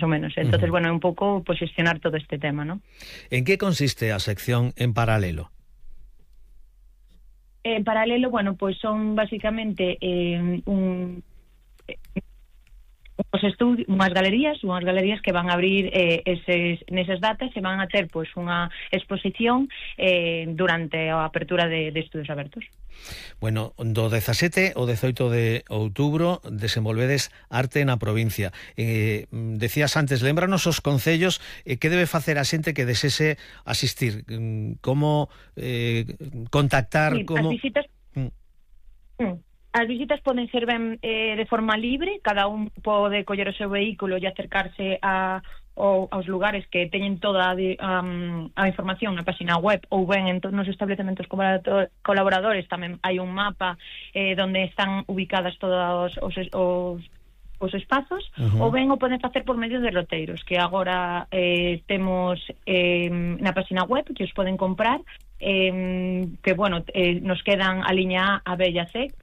o menos. Entonces, bueno, un pouco pues xestionar todo este tema, ¿no? En que consiste a sección En Paralelo? En paralelo, bueno, pues son básicamente unhas galerías que van a abrir nesas datas e van a ter pois unha exposición durante a apertura de estudios abertos. Bueno, do 17 ao 18 de outubro desenvolvedes arte na provincia. Decías antes, lémbranos os concellos, que debe facer a xente que desese asistir, como contactar, Sí, como... As visitas poden ser ben de forma libre, cada un pode coller o seu vehículo e acercarse aos lugares que teñen toda a información na página web, ou ben en todos os establecementos colaboradores tamén hai un mapa onde están ubicadas todos os espazos, ou ben o poden facer por medio de roteiros, que agora temos na página web, que os poden comprar, que, bueno, nos quedan a liña A, B e a C,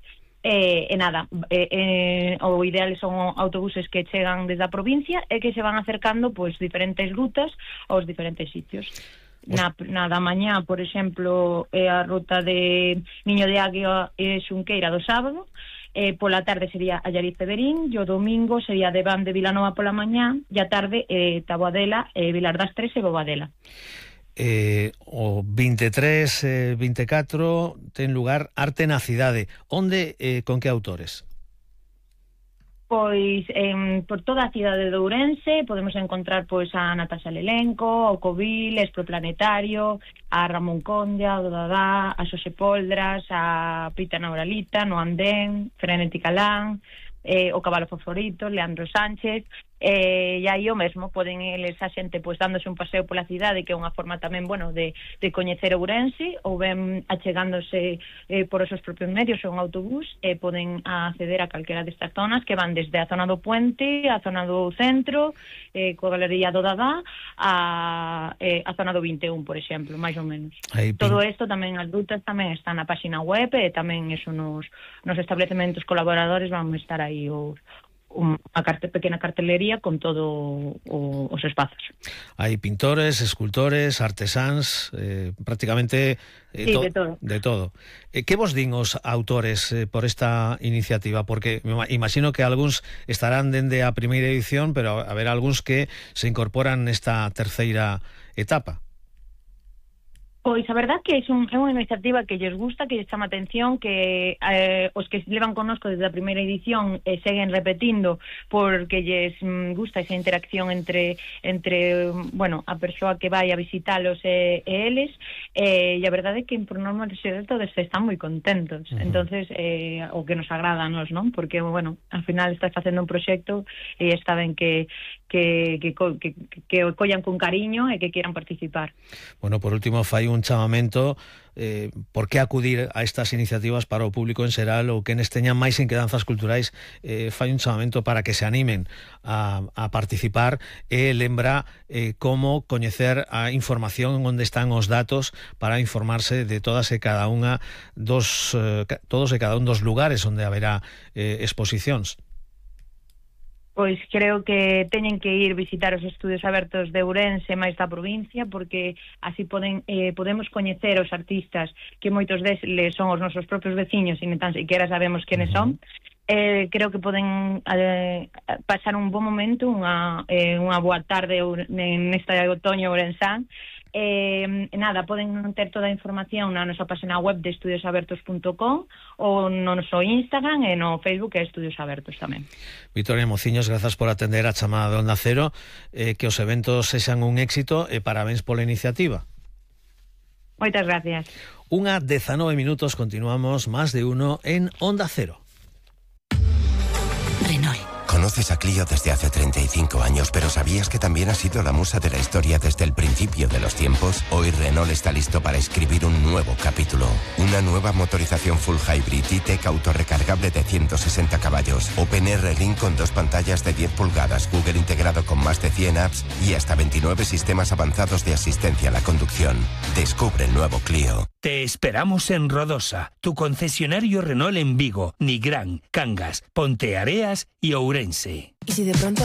o ideal son autobuses que chegan desde a provincia e que se van acercando pois diferentes rutas aos diferentes sitios. Na da mañá, por exemplo, a ruta de Niño de Águia e Xunqueira do sábado, pola tarde sería Allariz de Berín, e o domingo sería Deván de Vilanova pola mañá, e a tarde Taboadela, Vilar das Tres e Bobadela. O 23, 24 ten lugar Arte na Cidade. Onde, con que autores? Pois por toda a cidade de Ourense podemos encontrar pois a Natasha Lelenco, o Covil, Exproplanetario, a Ramón Conde, a Dodadá, a Xosé Poldras, a Pita Nauralita, no Andén, Frenética Calán, o Cabalo Favorito, Leandro Sánchez, e aí o mesmo, poden eles a xente pois dándose un paseo pola cidade, que é unha forma tamén, bueno, de coñecer Ourense, ou ben achegándose por os seus propios medios ou un autobús, poden acceder a calquera destas zonas que van desde a zona do Puente, a zona do centro, coa Galería do Dadá, a zona do 21, por exemplo, máis ou menos. Todo isto tamén, as rutas tamén están na página web, e tamén eso nos establecementos colaboradores vamos estar aí unha pequena cartelería con todo os espazos. Hai pintores, escultores, artesáns, prácticamente de todo. Que vos din os autores por esta iniciativa? Porque me imagino que algúns estarán dende a primeira edición, pero haberá algúns que se incorporan nesta terceira etapa. Pois a verdad que é unha iniciativa que lles gusta, que lles chama atención, que os que levan connosco desde a primeira edición seguen repetindo porque lles gusta esa interacción entre bueno, a persoa que vai a visitalos e eles, e a verdade é que por norma todos están moi contentos. Entonces o que nos agrada a nós, non? Porque, bueno, ao final estás facendo un proxecto e está ben que o collan con cariño e que quieran participar. Bueno, por último, fai un chamamento, por que acudir a estas iniciativas para o público en xeral ou quenes teñan máis inquedanzas culturais, fai un chamamento para que se animen a participar e lembra como coñecer a información onde están os datos para informarse de todos e cada un dos lugares onde haberá exposicións. Pois creo que teñen que ir visitar os estudios abertos de Ourense máis da provincia, porque así podemos coñecer os artistas que moitos deles son os nosos propios veciños e tan sequera sabemos quenes son. Creo que poden pasar un bon momento, unha boa tarde neste outoño ourensán. Nada, poden ter toda a información na nosa página web de estudiosabertos.com ou no noso Instagram e no Facebook, que é Estudios Abertos tamén. Victoria Mociños, grazas por atender a chamada de Onda Cero, que os eventos sexan un éxito e parabéns pola iniciativa. Moitas gracias. 1:19 minutos, continuamos Más de Uno en Onda Cero. Renault. Conoces a Clio desde hace 35 años, pero ¿sabías que también ha sido la musa de la historia desde el principio de los tiempos? Hoy Renault está listo para escribir un nuevo capítulo. Una nueva motorización full hybrid E-Tech autorrecargable de 160 caballos. OpenR Ring con 2 pantallas de 10 pulgadas, Google integrado con más de 100 apps y hasta 29 sistemas avanzados de asistencia a la conducción. Descubre el nuevo Clio. Te esperamos en Rodosa, tu concesionario Renault en Vigo, Nigrán, Cangas, Ponteareas y Ourense. ¿Y si de pronto